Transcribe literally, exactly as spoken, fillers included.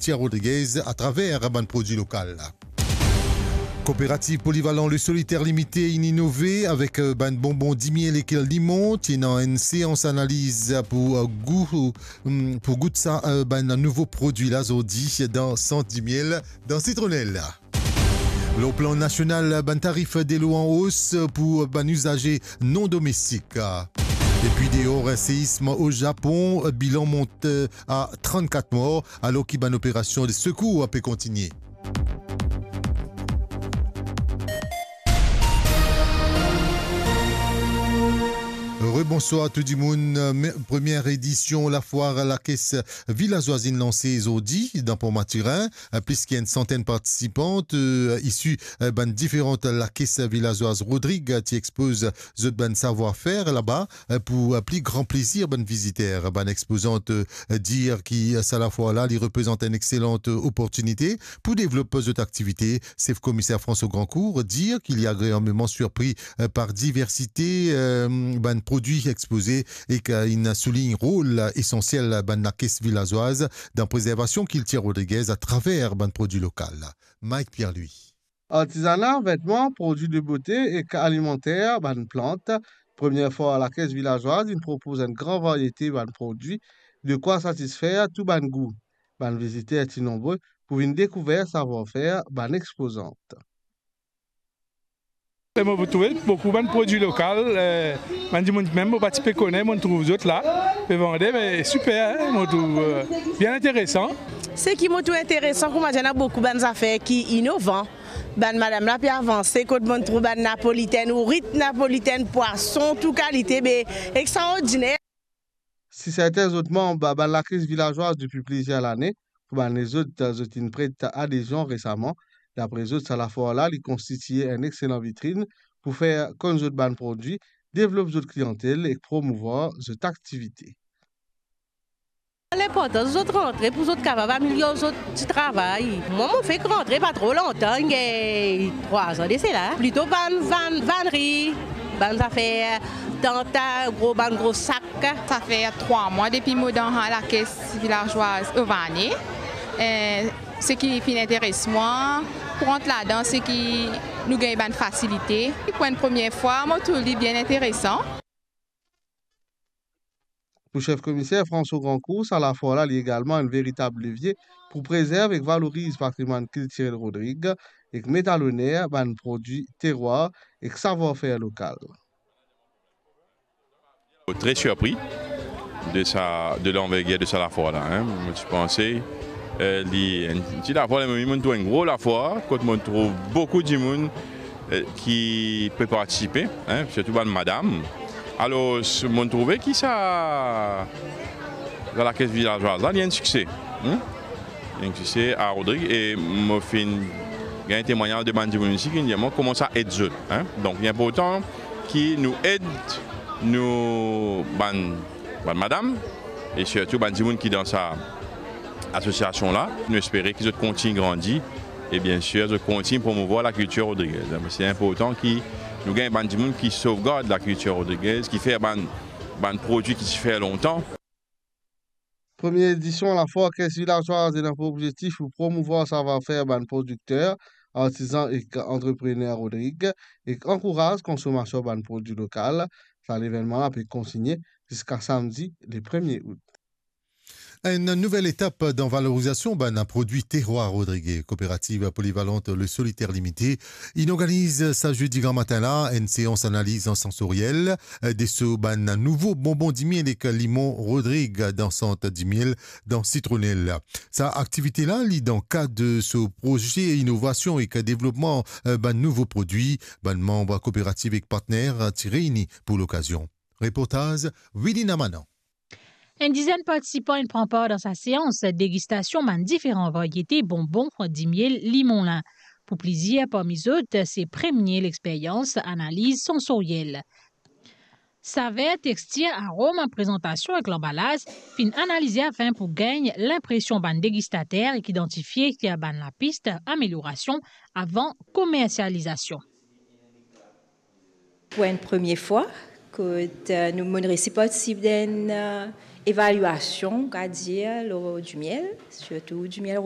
Thierry Rodriguez atraver bann prodwi lokal. Kooperativ Polivalan Le Solitaire Limité inn inove avek, eh, bann bonbon dimiel ek limon. Ti ena enn seans analiz pou, eh, gou, hmm, pou gout sa, eh, bann nouvo prodwi la zordi dan sant dimiel dan Sitronel. Lor plan nasional, bann tarif delo an os pou bann izaze non domestik. Epi deor, seism o Zapon, bilan mont a trannkat mor, alor ki bann operasion de sekour pe kontigne. Rebonswar tou dimoun. Me-, premie edision lafwar Lakes Vilazwaz inn lanse zordi dan Pont Mathurin. Plis ki enn santenn partisipan, eh, isi, eh, bann diferan lakes vilazwaz Rodrig, eh, ti expoz zot bann savwar-fer laba, eh, pou, eh, pli gran plezir bann viziter. Bann expozant, eh, dir ki, eh, sa lafwar la, li reprezant enn exselan, eh, oportinite pou devlop zot aktivite. Sef Komiser François Grandcourt dir ki li agreableman sirpri, eh, par diversite, eh, bann prodwi expoze ek, eh, inn soulign rol esansiel bann lakes vilazwaz dan prezervasion kiltir Rodriguez atraver bann prodwi lokal. Mike Pierre-Louis. Artizana, vetman, prodwi de bote ek alimanter, bann plant. Premie fwa Lakes Vilazwaz inn propoz enn gran varyete bann prodwi, de kwa satisfer tou bann gou. Bann viziter ti nonbre pou vinn dekouver savwar-fer bann expozant. E mo trouve boukou bann prodwi lokal, eh, bann dimoun mem mo pa ti pe kone, mo trouv zot la, pe vande, me siper, eh, mo trouv, eh, bien interesan. Seki mo trouv interesan, kouma dir, ena boukou bann zafer ki inovan. Bann madam la pe avanse, kot mo trouv bann napolitenn, ourit napolitenn, pwason, tou kalite, be extraordiner. Si sertin zot manb bann Lakes Vilazwaz depi plizier lane, pou bann lezot, zot inn pret adezion resaman. Dapre zot, sa lafwar la, li konstitie enn exselan vitrin pou fer konn zot bann prodwi, devlop zot kliantel ek promouvwar zot aktivite. Linportans zot rantre pou zot kapav amelior zot ti travay. Mwa, mo fek rantre pa tro lontan, inn gagn trwa zan de sela. Plito bann vann, vannri, bann zafer, tant, gro, bann gro sak. Sa fer trwa mwa depi mo dan Lakes Vilazwaz Ovane. Eh, seki finn interes mwa pou rant ladan, seki nou gagn bann fasilite. Pou enn premie fwa, mo trouv li bien interesan. Pou sef komiser François Grandcourt, sa lafwar la, li egalman enn veritab levie pou prezerv ek valoriz patrimwann kiltirel Rodrig ek met a loner bann prodwi terwar ek savwar-fer lokal. Tre sirpri de sa, de lanvergir de sa lafwar la, hein. Mo ti panse, eh, li enn ti lafwar, me mo trouv enn gro lafwar, kot mo trouv boukou dimoun, eh, ki pe partisipe, hein, sirtou bann madam. Alor, mo trouve ki sa, sa Lakes Vilazwaz la, li enn sikse, hein. Enn sikse a Rodrig, e mo finn gagn temwagnaz de bann dimoun isi ki dir mwa kouma sa ed zot, hein. Donk, li inportan ki nou ed nou bann, bann madam, e sirtou bann dimoun ki dan sa asosiasion la. Nou espere ki zot kontign grandi e, biensir, zot kontign promouvwar lakiltir rodrigez. Se inportan ki nou gagn bann dimoun ki sovgard lakiltir rodrigez, ki fer bann, bann prodwi ki ti fer lontan. Premie edision lafwar Lakes Vilazwaz ena pou obzektif pou promouvwar savwar-fer bann prodikter, artizan ek antreprener Rodrig, ek ankouraz konsomasion bann prodwi lokal. Sa levennman la pe kontigne ziska samdi le premie out. Enn nouvel etap dan valorizasion bann prodwi terwar Rodrig. Kooperativ Polivalant Le Solitaire Limité inn organiz sa zedi gramatin la enn seans analiz sansoriel, eh, de so bann nouvo bonbon dimiel ek limon Rodrig dan sant dimiel dan Sitronel. Sa aktivite la, li dan kad so proze inovasion ek devlopman, eh, bann nouvo prodwi. Bann manb kooperativ ek partner ti reyni pou lokazion. Reportaz Wilina Manan. Enn dizenn partisipan inn pran par dan sa seans degistasion bann diferan varyete bonbon dimiel limon la. Pou plizier parmi zot, se premie lexperyans analiz sansoriel. Saver, textir, arom, prezantasion ek lanbalaz finn analize afin pou gagn linpresion bann degistater ek idantifie bann lapis ameliorasion avan komersializasion. Pou enn premie fwa, kot, eh, nou, mo'nn resi partisip dan enn, eh, evaliasion, on va dir, lor dimiel, sirtou dimiel